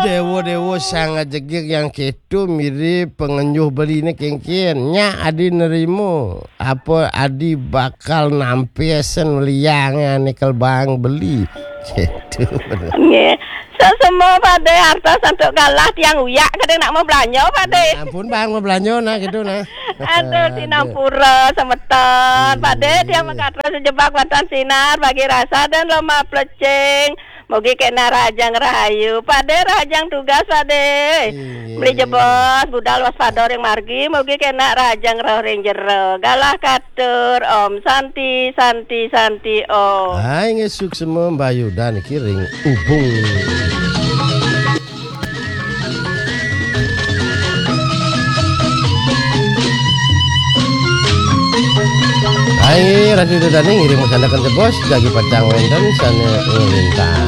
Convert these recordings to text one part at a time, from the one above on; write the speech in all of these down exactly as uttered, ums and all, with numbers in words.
Dewa-dewa sang ajegeg yang keto mirip pengenjuh beliné kéngkén. Nyak adi nerima apa adi bakal nampesen liangan nyekel bang beli. Gitu. Nggih. Sesama Pak De, artos antuk galah tiang uyak kadang nak mau belanja, Pak De. Ampun bang mau belanja nah gitu nah. Aduh, sinampura semeton. Pak De, tiang makatur sejebak wonten sinar bagi rasa dan loma plecing. Mugi kena rahajeng rahayu. Pak De, rahajeng tugas, Pak De. Beli jebos, budal waspada ring margi, mugi kena rahajeng roh ring jero. Galah katur, Om Santi, Santi, Santi, Om. Hai ngesuk semua mbayudan kiring ubung. Hai Radio Dadane ngiring masandaken jebos jagi pacang wenten sane nglintang.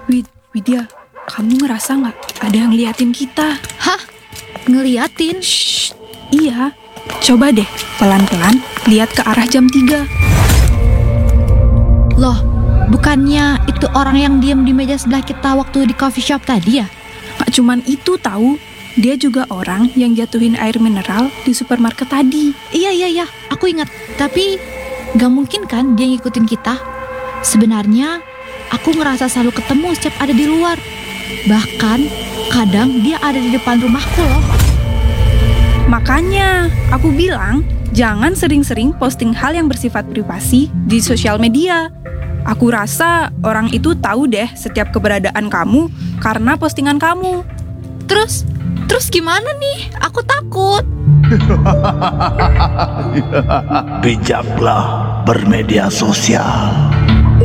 Wid, Widya, kamu ngerasa nggak ada yang ngeliatin kita? Hah? Ngeliatin? Shh, iya. Coba deh, pelan-pelan lihat ke arah jam tiga. Loh, bukannya itu orang yang diem di meja sebelah kita waktu di coffee shop tadi ya? Nggak cuman itu tahu, dia juga orang yang jatuhin air mineral di supermarket tadi. Iya, iya, iya, aku ingat. Tapi gak mungkin kan dia ngikutin kita? Sebenarnya aku ngerasa selalu ketemu setiap ada di luar. Bahkan kadang dia ada di depan rumahku loh. Makanya aku bilang jangan sering-sering posting hal yang bersifat privasi di sosial media. Aku rasa orang itu tahu deh setiap keberadaan kamu karena postingan kamu. Terus, terus gimana nih? Aku takut. Bijaklah bermedia sosial.